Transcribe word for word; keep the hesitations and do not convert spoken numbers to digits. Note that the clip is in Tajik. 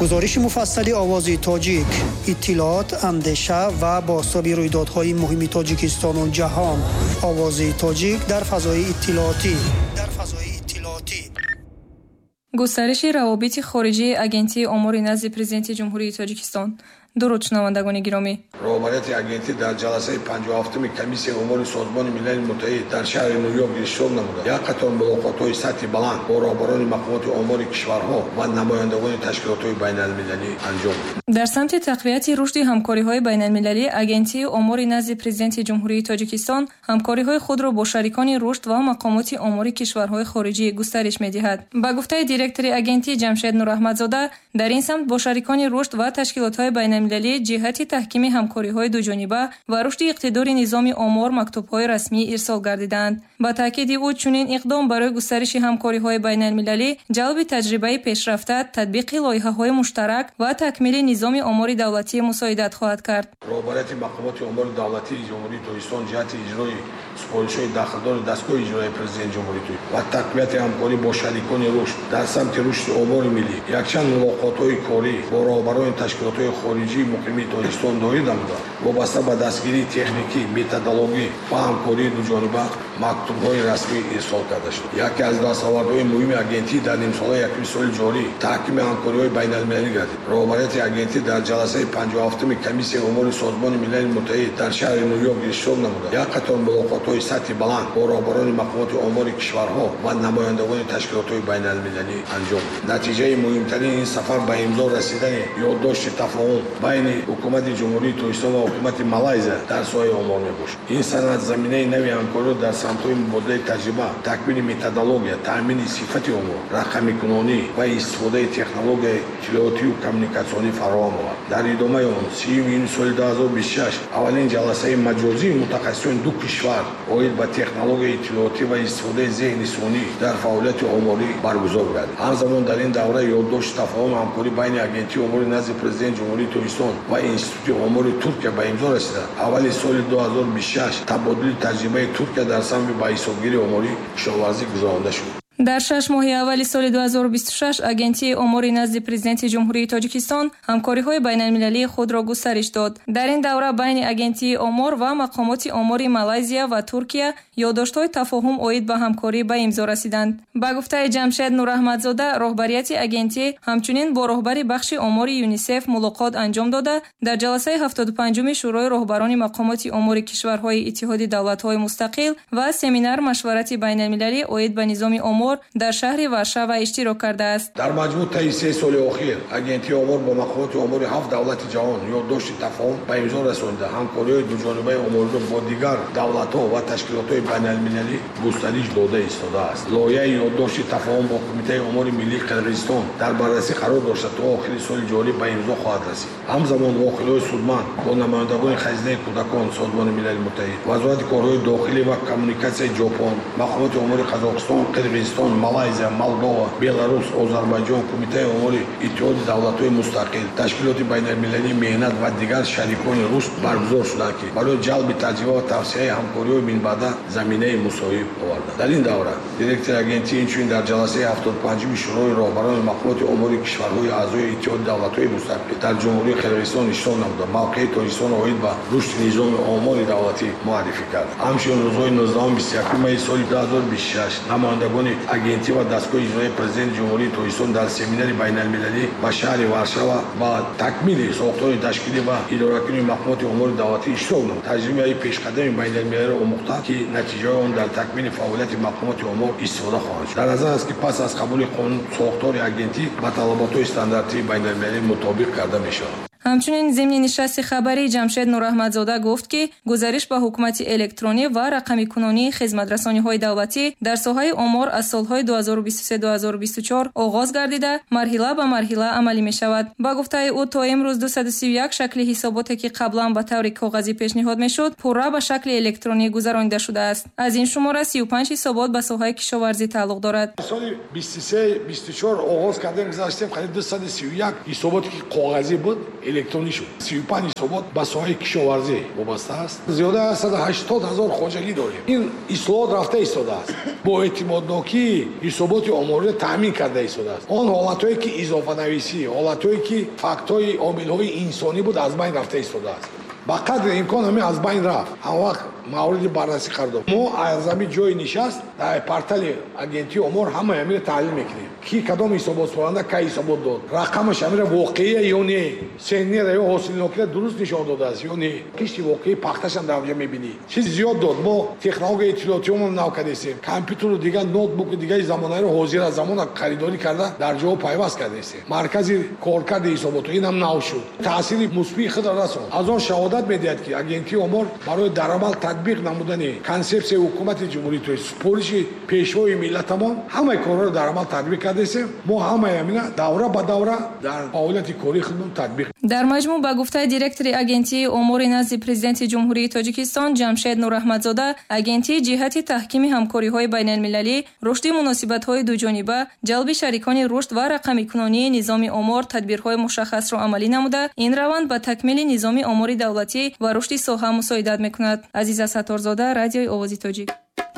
Гузориши муфассали Овози Тоҷик, иттилоот, андеша ва бозтоби рӯйдодҳои муҳими Тоҷикистону ҷаҳон. Овози Тоҷик дар фазои иттилоотӣ. Дар фазои иттилоотӣ. Густариши равобити хориҷии Агентии омори назди Президенти Ҷумҳурии Тоҷикистон. Дуруд, шунавандагони гиромӣ. Роҳбарияти агентӣ дар ҷаласаи панҷоҳу ҳафтуми Комиссияи омори Созмони Милали Муттаҳид дар шаҳри Ню-Йорк иштирок намуда, як қатор мулоқотҳои сатҳи баланд бо роҳбарони мақомоти омори кишварҳо ва намояндагони ташкилотҳои байналмилалӣ анҷом дод. Дар самти тақвияти рушди ҳамкориҳои байналмилалӣ Агентии омори назди Президенти Ҷумҳурии Тоҷикистон ҳамкориҳои худро бо шарикони рушд ва мақомоти омори кишварҳои хориҷӣ густариш медиҳад. Ба гуфтаи директори агентӣ Ҷамшед Нураҳмадзода, дар ин самт бо шарикони рушд ва ташкилотҳои байналмилалӣ ҷиҳати таҳкими ҳамкориҳои дуҷониба ва рушди иқтидори низоми омор мактубҳои расмӣ ирсол гардиданд. Ба таъкиди ӯ, чунин иқдом барои густариши ҳамкориҳои байналмилалӣ, ҷалби таҷрибаи пешрафта, татбиқи лоиҳаҳои муштарак ва такмили низоми омори давлатӣ мусоидат хоҳад кард. Роҳбарияти мақомоти омори давлатии Ҷумҳурии Тоҷикистон ҷиҳати иҷрои супоришҳои дахлдори дастгоҳи иҷроияи Президенти Ҷумҳурии Тоҷикистон ва тақвияти ҳамкорӣ бо шарикони рушд дар самти рушди омори миллӣ якчанд мулоқотҳои корӣ бо роҳбарони ташкилотҳои хориҷии муқимии Тоҷикистон доир намуда, вобаста ба дастгирии техникӣ, методологӣ ва ҳамкории дуҷониба мактубҳои расмӣ ирсол карда шуд. Яке аз дастовардҳои муҳими агентӣ дар нимсолаи якуми соли ҷорӣ таҳкими ҳамкориҳои байналмилалӣ гардид. Роҳбарияти агентӣ дар ҷаласаи панҷоҳу ҳафтуми Комиссияи омори Созмони Милали Муттаҳид дар шаҳри Ню-Йорк иштирок намуда, як қатор мулоқотҳои сатҳи баланд бо роҳбарони мақомоти омори кишварҳо ва намояндагони ташкилотҳои байналмилалӣ анҷом дод. Натиҷаи муҳимтарини ин сафар ба имзо расидани ёддошти тафоҳум байни ҳукумати Ҷумҳурии Тоҷикистон ва ҳукумати Малайзия дар соҳаи омор мебошад. Ин санад заминаи нави ҳамкориро дар самтҳои мубодилаи таҷриба, такмили методология, таъмини сифати омор, рақамикунонӣ ва истифодаи технологияи иттилоотию коммуникатсионӣ фароҳам овард. Дар идомаи он сиюми июни соли ду ҳазору бисту шаш аввалин ҷаласаи маҷозии мутахассисони ду кишвар оид ба технологияи иттилоотӣ ва истифодаи зеҳни сунъӣ дар фаъолияти оморӣ баргузор гардид. Ҳамзамон дар ин давра ёддошти тафоҳум ҳамкорӣ байни Агентии омори назди Президенти Ҷумҳурии Тоҷикистон ва Институти омори Туркия ба имзо расида, аввали соли ду ҳазору бисту шаш табодули таҷрибаи Туркия дар самти ба ҳисобгирии оморӣ кишоварзӣ гузаронда шуд. Дар шаш моҳи аввали соли ду ҳазору бисту шаш Агентии омори назди Президенти Ҷумҳурии Тоҷикистон ҳамкориҳои байналмилалии худро густариш дод. Дар ин давра байни Агентии омор ва мақомоти омори Малайзия ва Туркия ёддоштҳои тафоҳум оид ба ҳамкорӣ ба имзо расиданд. Ба гуфтаи Ҷамшед Нураҳмадзода, роҳбарияти агентӣ ҳамчунин бо роҳбари бахши омори ЮНИСЕФ мулоқот анҷом дода, дар ҷаласаи ҳафтоду панҷуми Шӯрои роҳбарони мақомоти омори кишварҳои Иттиҳоди давлатҳои мустақил ва семинар машварати байналмилалӣ оид ба низоми омор дар шаҳри Варшава иштирок кардааст. Дар маҷмӯъ таи се соли охир Агентии омор бо мақомоти омори ҳафт давлати ҷаҳон ёддошти тафоҳум ба имзо расонида, ҳамкориҳои дуҷонибаи омориро бо дигар давлатҳо ва ташкилотҳои байналмилалӣ густариш дода истодааст. Лоиҳаи ёддошти тафоҳум бо Кумитаи омори миллии Қирғизистон дар баррасӣ қарор дошта, то охири соли ҷорӣ ба имзо хоҳад расид. Ҳамзамон вохӯриҳои судманд бо намояндагони Хазинаи кӯдакон Созмони Милали Муттаҳид, Вазорати корҳои дохилӣ ва коммуникатсияи Ҷопон, мақомоти омори Қазоқистон, Қирғизистон, Малайзия, Молдова, Беларус, Озарбойҷон, Кумитаи омори Иттиҳоди давлатҳои мустақил, ташкилоти байналмилалии меҳнат ва дигар шарикони рушд баргузор шуданд, ки барои ҷалби таҷриба ва тавсеаи ҳамкориҳои минбаъда заминаи мусоид оварданд. Дар ин давра директори агентӣ инчунин дар ҷаласаи ҳафтоду панҷуми Шӯрои роҳбарони мақомоти омори кишварҳои аъзои Иттиҳоди давлатҳои мустақил дар Ҷумҳурии Қирғизистон иштирок намуда, мавқеи Тоҷикистон оид ба рушди низоми омори давлатӣ муаррифӣ кард. Ҳамчунин рӯзҳои нуздаҳум бисту якуми майи соли ду ҳазору бисту шаш намояндагони агентӣ ва дастгоҳи иҷроияи Президенти Ҷумҳурии Тоҷикистон дар семинари байналмилалӣ ба шаҳри Варшава ба такмили сохтори ташкилӣ ва идоракунии мақомоти омори давлатӣ иштирок намуд. Таҷрибаи пешқадами байналмилалиро омӯхта, ки натиҷаҳои он дар такмили фаъолияти мақомоти омор истифода хоҳанд шуд. Дар назар аст, ки пас аз қабули қонун сохтори агентӣ ба талаботҳои стандартии байналмилалӣ мутобиқ карда мешавад. Ҳамчунин зимни нишасти хабарӣ Ҷамшед Нураҳмадзода гуфт, ки гузариш ба ҳукумати электронӣ ва рақамикунонии хизматрасониҳои давлатӣ дар соҳаи омор аз солҳои ду ҳазору бисту се ду ҳазору бисту чор оғоз гардида, марҳила ба марҳила амалӣ мешавад. Ба гуфтаи ӯ, то имрӯз дусаду сию як шакли ҳисоботе, ки қаблан ба таври коғазӣ пешниҳод мешуд, пурра ба шакли электронӣ гузаронида шудааст. Аз ин шумора сию панҷ ҳисобот ба соҳаи кишоварзӣ тааллуқ дорад. Соли бисту се бисту чор оғоз кардем, гузаштем қариб дусаду сию як ҳисоботе, ки коғазӣ буд, Электронӣ шуд. Сию панҷ ҳисобот ба соҳаи кишоварзӣ вобаста аст. Зиёда аз саду ҳаштод ҳазор хоҷагӣ дорем. Ин ислоҳот рафта истодааст. Бо эътимоднокии ҳисоботи омориро таъмин карда истодааст. Он ҳолатҳое ки изофанависӣ, ҳолатҳое ки фактҳои омилҳои инсонӣ буд, аз байн рафта истодааст. Ба қадри имкон ҳамин аз байн рафт. Ҳам вақт мавриди баррасӣ қарор дод. Мо аз ҳамин ҷои нишаст дар портали агентии омор ҳамаи ҳаминро таҳлил мекунем. Ки кадом ҳисоботсупоранда кай ҳисобот дод, рақамаш ҳаминро воқеия ё не, сеннера ё ҳосилнокиро дуруст нишон додааст ё не, кишти воқеии пахташам дар онҷо мебинӣ. Чиз зиёд дод. Мо технологияи иттилоотиёмон нав кардастем. Компютеру дигар ноутбуку дигари замонаро ҳозир аз замона харидорӣ карда дар ҷоҳо пайваст кардастем. Маркази коркарди ҳисоботҳо инам нав шуд. Таъсири мусбии худро расонд. Аз он шаҳодат медиҳад, ки агентии омор барои дар амал татбиқ намудани консепсияи ҳукумати ҷумҳурии Тоҷикистон, супориши пешвои миллатамон ҳамаи корҳоро дар амал татбиқ кардастем. Мо ҳамаи ҳамина давра ба давра дар фаъолияти кории худмон татбиқ. Дар маҷмӯъ, ба гуфтаи директори агентии омори назди президенти Ҷумҳурии Тоҷикистон Ҷамшед Нураҳмадзода, агентӣ ҷиҳати таҳкими ҳамкориҳои байналмилалӣ, рушди муносибатҳои дуҷониба, ҷалби шарикони рушд ва рақамикунонии низоми омор тадбирҳои мушаххасро амалӣ намуда, ин раванд ба такмили низоми омори давлатӣ ва рушди соҳа мусоидат мекунад. Азиза Сатторзода, радиои Овози Тоҷик.